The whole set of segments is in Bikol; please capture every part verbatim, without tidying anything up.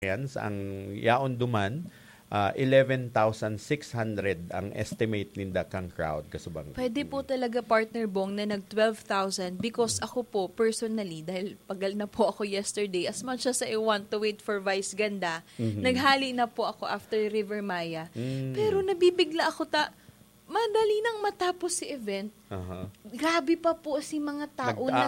Experience, ang yaon duman, ah, eleven thousand six hundred ang estimate ninda kang crowd, kasubang. Pwede po talaga, Partner Bong, na nag twelve thousand because ako po, personally, dahil pagal na po ako yesterday, as much as I want to wait for Vice Ganda, Mhm. naghali na po ako after River Maya. Mm. Pero nabibigla ako ta-, madali nang matapos si event. Aha. Grabe pa po si mga tao Nag-aabot, yes.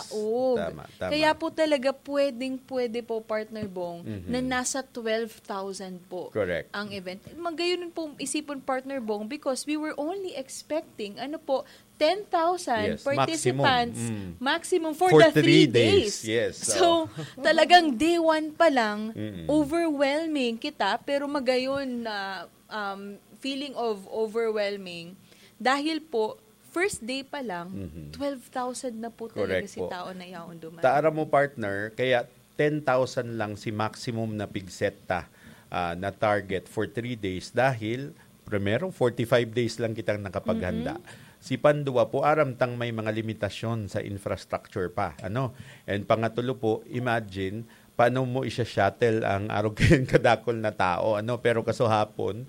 nagraralaog. Tama, tama. Kaya po talaga pwedeng-pwede po, Partner Bong, Mhm. na nasa twelve thousand po Correct. ang event. Magayon po isipon, Partner Bong, because we were only expecting, ano po, ten thousand Yes, maximum. participants Mm. maximum for For the three three days. days. Yes, So, so. talagang day one pa lang, Mm. overwhelming kita, pero magayon na, um, feeling of overwhelming dahil po, first day pa lang, Mhm. twelve thousand na po talaga Correct si po. tao na yaon duman. Taara mo, partner, kaya ten thousand lang si maximum na pigset ta, ah, na target for three days dahil, primero, forty-five days lang kitang nakapaghanda. Mm-mm. Si panduwa po, aram tang may mga limitasyon sa infrastructure pa, ano? And pangatulo po, imagine, paano mo isya-shuttle ang arog kayong kadakol na tao, ano? Pero kasuhapon,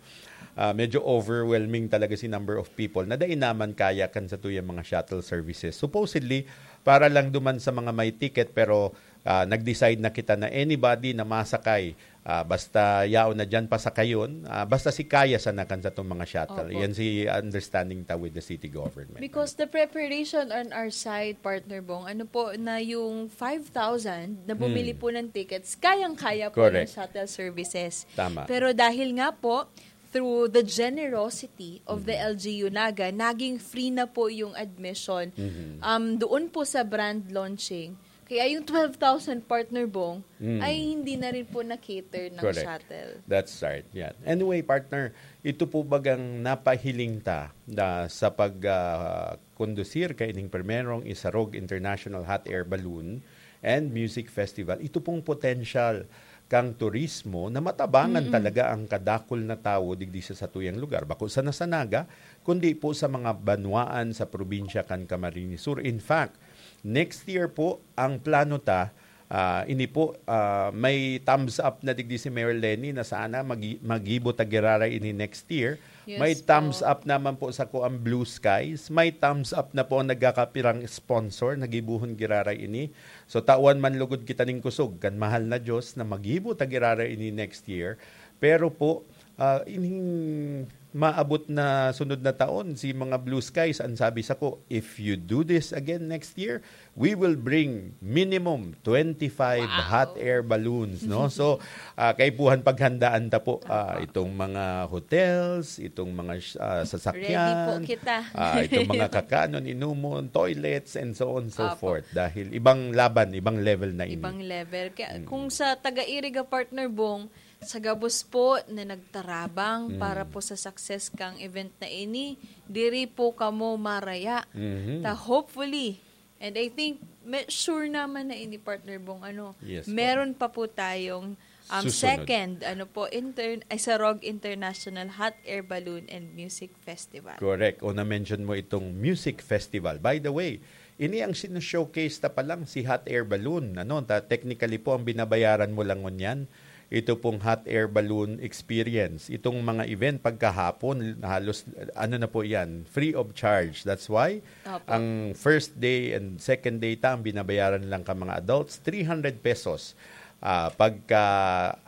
ah, medyo overwhelming talaga si number of people na dai naman kaya kan satuyang mga shuttle services. Supposedly, para lang duman sa mga may ticket, pero, ah, nag-decide na kita na anybody na masakay, ah, basta yaon na diyan, pasakayon, ah, basta si kaya sana kan satong mga shuttle. Opo. Yan si understanding ta with the city government. Because the preparation on our side, Partner Bong, ano po, na yung five thousand na bumili Hmm. po ng tickets, kayang-kaya po ng Correct. shuttle services. Tama. Pero dahil nga po, through the generosity of the Mhm. L G U Naga, naging free na po yung admission. Mhm. Um, doon po sa brand launching, kaya yung twelve thousand, Partner Bong, Mm. ay hindi na rin po na-cater ng Correct. shuttle. That's right. Yan. Anyway, partner, ito po bagang napahiling ta na sa pag, ah, kondusir kaining primerong Isarog International Hot Air Balloon and Music Festival. Ito pong potential kang turismo na matabangan Mm-mm. talaga ang kadakol na tawo digdi sa satuyang lugar. Bako sana sa Naga, kundi po sa mga banwaan sa probinsya kan Camarines Sur. In fact, next year po, ang plano ta, ah, ini po, ah, may thumbs up na digdi si Mayor Leni na sana magi-, magibo ta giraray ini next year. Yes May po. thumbs up naman po sa ko ang Blue Skies. May thumbs up na po ang nagkakapirang sponsor na gibohon giraray ini. So, tawan man lugod kita ning kusog kan mahal na Diyos na magibo ta giraray ini next year. Pero po, ah, ining maabot na sunod na taon, si mga Blue Skies, ang sabi sa ko, "If you do this again next year, we will bring minimum twenty-five Wow. hot air balloons," no? So, ah, kaipuhan paghandaan ta po, ah, Opo. itong mga hotels, itong mga sh-, ah, sasakyan, Ready po kita. ah, itong mga kakanon, inumon, toilets, and so on, so Opo. forth. Dahil ibang laban, ibang level na ini. Ibang level. Kaya Mm. kung sa taga-Iriga, Partner Bong, sa gabos po na nagtarabang Mm. para po sa success kang event na ini, diri po kamo maraya. Mhm. Ta hopefully, and I think, me-, sure naman na ini, Partner Bong, ano, Yes po. meron pa po tayong, um, Susunod. second, ano po, intern-, Isarog International Hot Air Balloon and Music Festival. Correct. O na-mention mo itong music festival. By the way, ini ang sino-showcase ta pa lang, si hot air balloon. Ano, ta-, technically po, ang binabayaran mo lang ngunyan, ito pong hot air balloon experience. Itong mga event pagkahapon, halos, ano na po yan, free of charge. That's why, Opo. ang first day and second day ta, ang binabayaran lang ka mga adults, three hundred pesos. Ah, pagka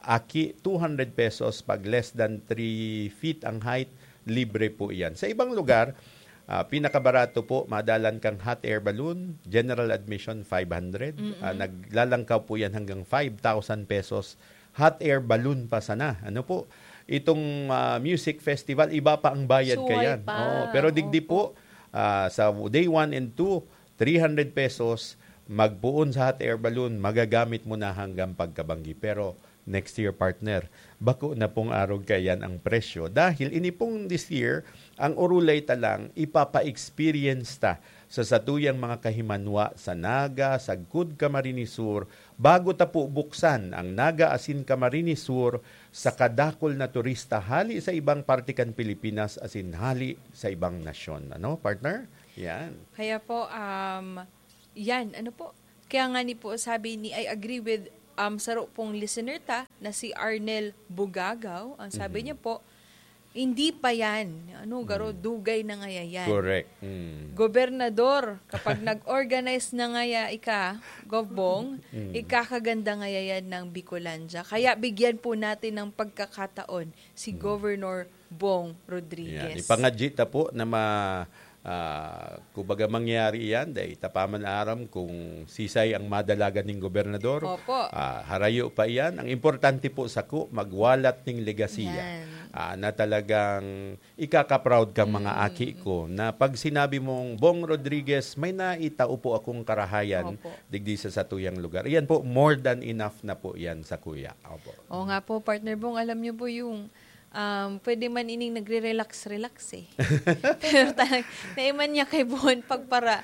aki, two hundred pesos. Pag less than three feet ang height, libre po iyan. Sa ibang lugar, ah, pinakabarato po, madalan kang hot air balloon, general admission, five hundred. Mm-mm. Ah, naglalangkaw po yan hanggang five thousand pesos. Hot air balloon pa sana. Ano po? Itong, ah, music festival, iba pa ang bayad Suway kayan. pa. Oo, pero digdi Opo. po, ah, sa day one and two, three hundred pesos, magpoon sa hot air balloon, magagamit mo na hanggang pagkabanggi. Pero next year, partner, bako na pong arog kayan ang presyo. Dahil ini pong this year, ang orulay ta lang, ipapa-experience ta sa satuyang mga kahimanwa sa Naga, sagkod Camarines Sur, bago ta po buksan ang Naga asin Camarines Sur sa kadakol na turista hali sa ibang parte kan Pilipinas asin hali sa ibang nasyon. Ano, partner? Yan. Kaya po, um, yan, ano po? Kaya nga ni po, sabi ni, I agree with um, saro pong listener ta na si Arnel Bugagaw. Ang sabi Mhm. niya po, "Hindi pa yan." Ano, garo, Mm. dugay na ngaya yan. Correct. Mm. Gobernador, kapag nag-organize na ngaya ika, Gov Bong, Mm. ikakaganda ngaya yan ng Bicolandia. Kaya bigyan po natin ng pagkakataon si Mm. Governor Bong Rodriguez. Yan. Ipangadyi ta po na ma, ah, kumbaga mangyari yan, dahil ta pa man aram kung sisay ang madalagan ning gobernador. Opo. Ah, harayo pa iyan. Ang importante po sako, magwalat ning legasiya. Yan. Ah, na talagang ikaka-proud kang mga Mm. aki ko. Na pag sinabi mong, "Bong Rodriguez, may naitao po akong karahayan Opo. digdi sa satuyang lugar." Iyan po, more than enough na po yan sa kuya. Opo. Oo nga po, Partner Bong, alam niyo po yung, um, pwede man ining nagre-relax-relax eh. Pero talagang, naiman niya kay Bon pagpara,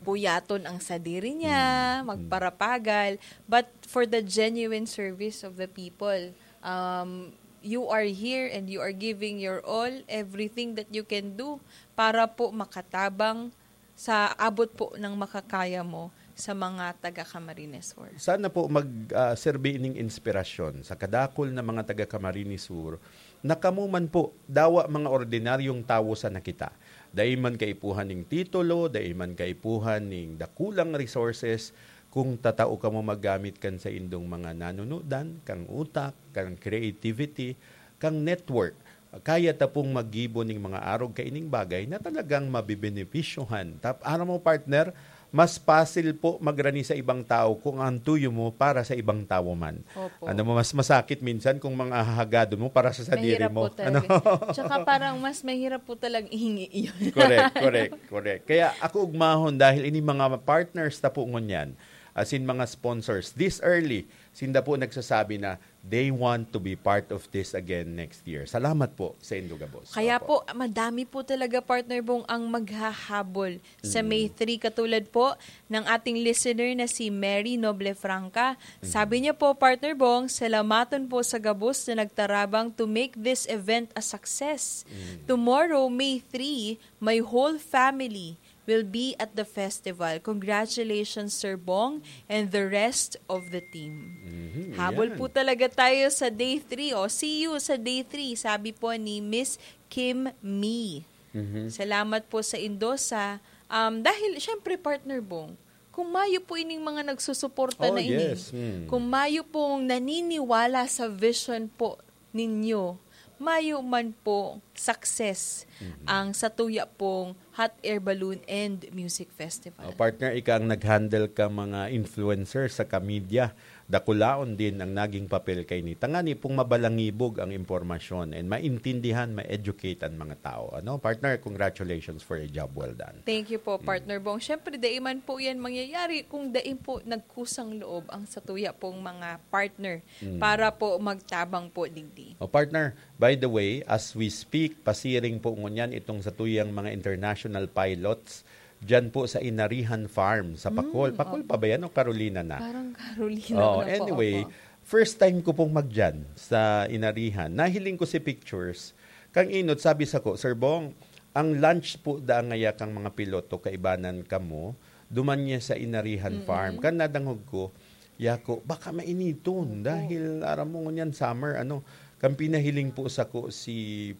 puyaton ang sadiri niya, Mm. magparapagal. But for the genuine service of the people, um, you are here and you are giving your all, everything that you can do para po makatabang sa abot po ng makakaya mo sa mga taga Camarines Sur. Sana po mag, ah, serbi ining inspirasyon sa kadakul na mga taga Camarines Sur na kamo man po, dawa mga ordinaryong tawo sana kita. Dai man kaipuhan ning titulo, dai man kaipuhan ning dakulang resources, kung tatao kamo maggamit kan saindong mga nanunudan, kang utak, kang creativity, kang network, kaya ta pong maggibo ning mga arog kaining bagay na talagang mabebenepisyohan. Tap-, aram mo, partner, mas pasil po magrani sa ibang tao kung ang tuyo mo para sa ibang tawo man. Opo. Ano mo, mas masakit minsan kung mga hahagadon mo para sa sadiri Mahirap mo. po talaga. Ano? Tsaka parang mas mahirap po talagang ihingi yun. Correct, correct, correct. Kaya ako ugmahon dahil ini mga partners ta po ngunyan, as in mga sponsors, this early, sinda po nagsasabi na they want to be part of this again next year. Salamat po sa indo gabos. Kaya Opo. po, madami po talaga, Partner Bong, ang maghahabol sa Mm. May three, katulad po ng ating listener na si Mary Noble Franca. Sabi niya po, Partner Bong, "Salamaton po sa gabos na nagtarabang to make this event a success. Mm. Tomorrow, May three, my whole family will be at the festival. Congratulations, Sir Bong, and the rest of the team." Mhm, Habol yan. po talaga tayo sa day three. O, see you sa day three, sabi po ni Miss Kim Mee. Mhm. Salamat po sa Indosa. Um, dahil, syempre, Partner Bong, kung mayo po ining mga nagsusuporta Oh, na ini, yes. Mm. kung mayo pong naniniwala sa vision po ninyo, mayo man po success Mhm. ang satuya pong Hot Air Balloon and Music Festival. Oh, partner, ika ang nag-handle ka mga influencer sa ka-media. Dakulaon din ang naging papel kay ni. Tangani pong mabalangibog ang impormasyon and maintindihan, ma-educate ang mga tao. Ano, partner, congratulations for a job well done. Thank you po, Mm. Partner Bong. Siyempre, dai man po yan mangyayari kung dai po nagkusang loob ang satuya pong mga partner Mm. para po magtabang po digdi. O partner, by the way, as we speak, pasiring po ngunyan itong satuyang mga international pilots dyan po sa Inarihan Farm sa Pacol. Mm, Pacol opo. pa ba yan o Carolina na? Parang Carolina Oh, na po, anyway, opo. First time ko pong magdyan sa Inarihan. Nahiling ko si pictures. Kang inot, sabi sako, "Sir Bong, ang lunch po da ngaya kang mga piloto, kaibanan kamo, duman niya sa Inarihan Mm-mm. Farm." Kan nadangog ko, yako, baka mainiton Opo. dahil aram mo ngunyan summer, ano, kan pinahiling po sako si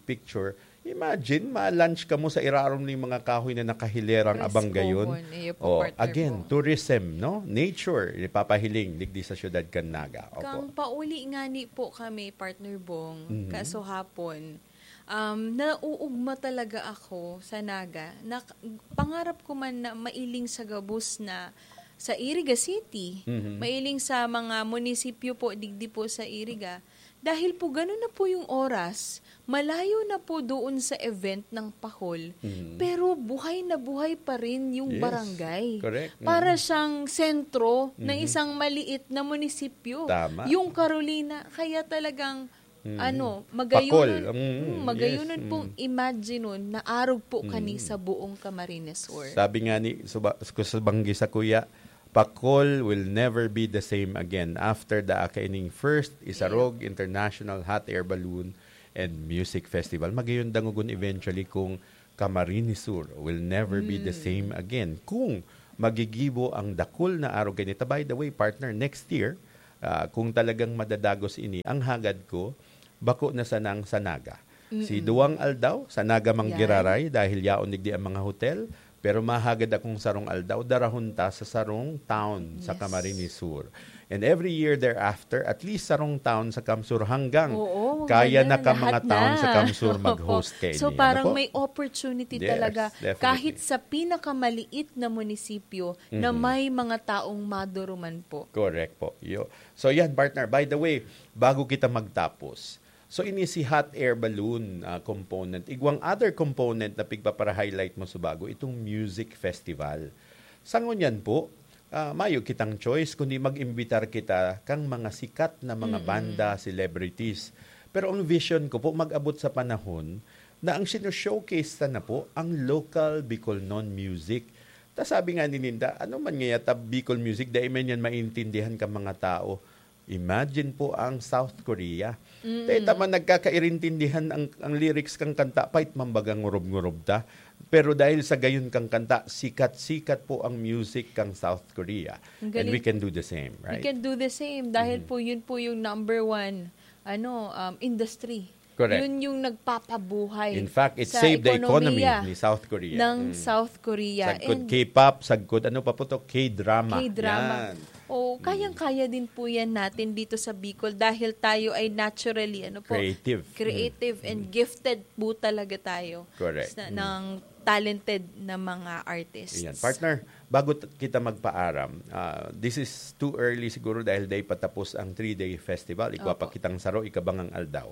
picture, imagine, ma-lunch kamo sa irarom ning mga kahoy na nakahilerang abang gayon. Preskohon. Iyo po, Oh, partner again, po. Tourism, no? Nature, ipapahiling digdi sa siyudad kan Naga. Opo. Kang pauli ngani po kami, Partner Bong, Mhm. kaso hapon, um, nauugma talaga ako sa Naga. Na, pangarap ko man na mailing sa gabos na sa Iriga City, Mhm. mailing sa mga munisipyo po, digdi po sa Iriga. Dahil po ganun na po yung oras, malayo na po doon sa event ng Pacol, Mhm. pero buhay na buhay pa rin yung Yes. barangay. Correct. Para Mhm. siyang sentro ng Mhm. isang maliit na munisipyo. Tama. Yung Carolina, kaya talagang, Mhm. ano, Pacol. magayunon, Mm, hmm, magayunon yes. pong Mm. imagine nun na arog po kani Mm. sa buong Camarines Sur. Sabi nga ni, suba-, ku-, subanggi sa kuya, Pacol will never be the same again after the kaining first Isarog International Hot Air Balloon and Music Festival. Magayon dangogon eventually kung Camarines Sur will never be the Mm. same again. Kung magigibo ang dakul na arog kanita. By the way, partner, next year, Ah, kung talagang madadagos ini, ang hagad ko, bako na sanang sa Naga. Si Mm. duwang aldaw, sa Naga man Yan. giraray, dahil yaon digdi ang mga hotel, pero mahagad akong sarong aldaw, darahon ta sa sarong town sa Yes. Camarines Sur. And every year thereafter, at least sarong town sa CamSur hanggang Oo, kaya ganyan, na ka mga lahat town na. sa CamSur mag-host kaini. So, Ano parang po? may opportunity Yes, talaga, definitely. kahit sa pinakamaliit na munisipyo na Mhm. may mga taong maduruman po. Correct po. Yo. So, yan, partner. By the way, bago kita magtapos, so, ini si hot air balloon, ah, component. Igwang other component na pigpapara-highlight mo sa bago, itong music festival. Sa ngunyan po, ah, mayo kitang choice kundi mag-imbitar kita kang mga sikat na mga Mm-mm. banda, celebrities. Pero ang vision ko po, mag-abot sa panahon na ang sino-showcase ta na po ang local Bicolnon music. Ta sabi nga ni Ninda, "Ano man ngaya ta Bicol music, dai man yan maintindihan ka mga tao." Imagine po ang South Korea. Mm. Dai ta man nagkakairintindihan ang, ang lyrics kang kanta, pait man baga ngurob-ngurob ta. Pero dahil sa gayon kang kanta, sikat-sikat po ang music kang South Korea. Ang And we galing. can do the same, We right? can do the same dahil Mhm. po yun po yung number one, ano, um, industry. Correct. Yun yung nagpapabuhay In fact, it sa saved the economy ekonomiya ni South Korea. ng Mm. South Korea. Sagkod And K-pop, sagkod ano pa po to? K-drama. K-drama. Yan. Oh, Mm. kayang-kaya din po yan natin dito sa Bicol dahil tayo ay naturally, ano po, Creative. creative Mm. and Mm. gifted po talaga tayo Correct. sa, Mm. ng talented na mga artists. Ayan. Partner, bago t-, kita magpaaram, ah, this is too early siguro dahil dai pa tapos ang three-day festival. Igwa pa Opo. kitang saro, ikabangang aldaw.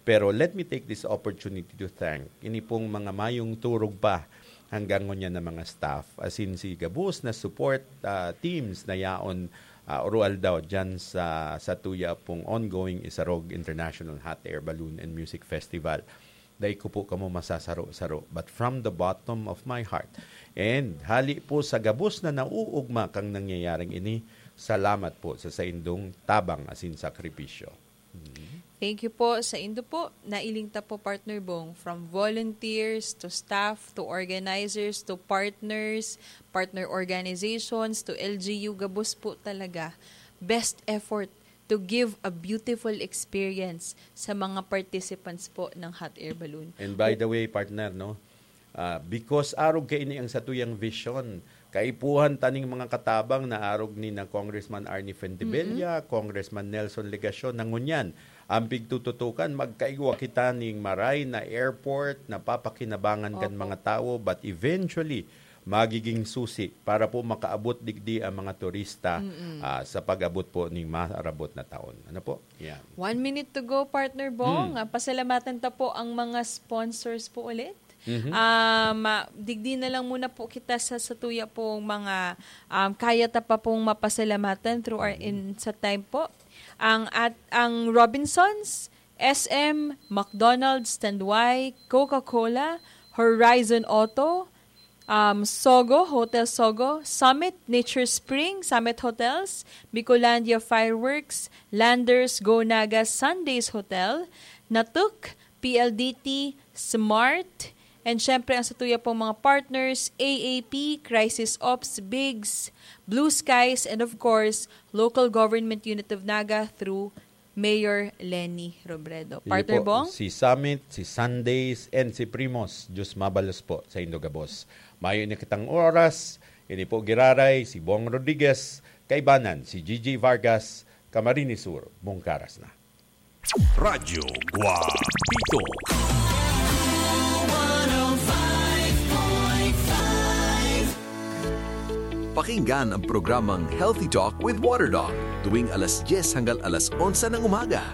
Pero let me take this opportunity to thank ini pong mga mayong turog pa hanggang ngunyan na mga staff. As in, si gabos na support, ah, teams na yaon, ah, oro aldaw dyan sa, sa tuya pong ongoing Isarog International Hot Air Balloon and Music Festival. Dai ko po kamo masasaro-saro, but from the bottom of my heart, and hali po sa gabos na nauugma kang nangyayaring ini, salamat po sa saindong tabang asin sakripisyo. Mhm. Thank you po sa indo po. Nailing ta po, Partner Bong, from volunteers to staff to organizers to partners, partner organizations to L G U, gabos po talaga. Best effort to give a beautiful experience sa mga participants po ng hot air balloon. And by the way, partner, no, ah, because arog kaini ang satuyang vision, kaipuhan ta ning mga katabang na arog ni na Congressman Arnie Fuentebella, Mm-mm. Congressman Nelson Legacion, na ngunyan, ang pigtututukan, magkaigwa kita ning maray na airport na papakinabangan kan Opo. mga tawo, but eventually, magiging susi para po makaabot digdi ang mga turista, Mm-mm. ah, sa pag-abot po ning maarabot na taon. Ano po? Yan. One minute to go, Partner Bong. Hmm. Ah, pasalamatan ta po ang mga sponsors po ulit. Mhm. Um, ah, digdi na lang muna po kita sa, sa tuya pong mga, um, kaya ta pa pong mapasalamatan through our Mhm. in, sa time po. Ang at, ang Robinsons, S M, McDonald's, Tanduay, Coca-Cola, Horizon Auto, um, Sogo, Hotel Sogo, Summit, Nature Spring, Summit Hotels, Bicolandia Fireworks, Landers, Go Naga, Sundays Hotel, Natuk, P L D T, Smart, and syempre ang sa tuya pong mga partners, A A P, Crisis Ops, Bigs, Blue Skies, and of course, Local Government Unit of Naga through Mayor Leni Robredo. Iyo Partner po, Bong? si Summit, si Sundays, and si Primos. Diyos mabalos po sa indo gabos. Mayo na kitang oras. Ini po giraray, si Bong Rodriguez. Kaibanan, si Gigi Vargas. Camarines Sur, Bungkaras na. Radyo Guapito. Pakinggan ang programang Healthy Talk with Water Doc tuwing alas dyes hanggang alas onse ng umaga.